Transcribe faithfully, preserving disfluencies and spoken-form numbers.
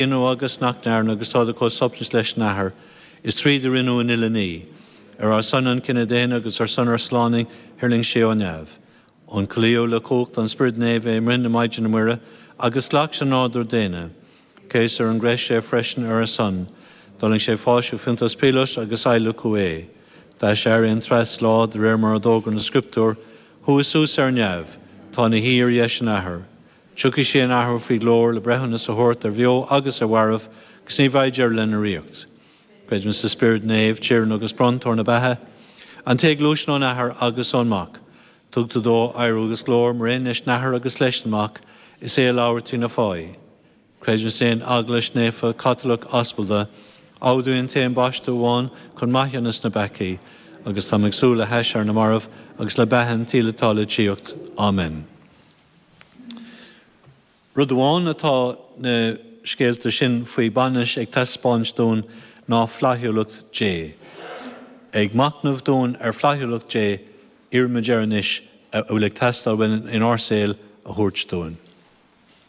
Rinneadh agus nach ndearnadh agus táid chomh soineanta leis an Athair, is tríd a rinneadh an uile ní. Ar ár son an cine daonna agus ar son ár sláine thuirling sé ó neamh. Ionchollaíodh le cumhacht an Spioraid Naomh é i mbroinn na Maighdine Muire agus ghlac sé nádúr daonna. Céasadh ar an gcrois é freisin ar ár son. D'fhulaing sé fáistine Phontius Píoláit agus adhlacadh é. D'aiséirigh an treas lá de réir mar a d'fhógair na Scrioptúir, chuaigh suas ar neamh, tá ina shuí ar dheis an Athar. Tiocfaidh sé in athuair faoi ghlóir le breithiúnas a thabhairt ar bheo agus ar mhairbh, agus ní bheidh deireadh lena ríocht. Creidim sa Spiorad Naomh, Tiarna agus Bronntóir na beatha, an té a ghluaiseann ón Athair agus ón Mac. Tugtar dó adhradh agus glóir mar aon leis an Athair agus leis an Mac, is é a labhair trí na fáidhí. Creidim san Eaglais Naofa Caitliceach Aspalda, admhaím an t-aon baisteadh amháin chun maithiúnas na bpeacaí, agus táim ag súil le haiséirí na marbh agus le beatha an tsaoil atá le tíocht. Amen. Rud amháin atá na scéalta sin faoi bainis ag taispeáint dúinn ná flaithiúlacht Dé. Ag machnamh dúinn ar fhlaithiúlacht Dé, iarraimid air anois a bhfuil ag teastáil uainn inár saol a thabhairt dúinn.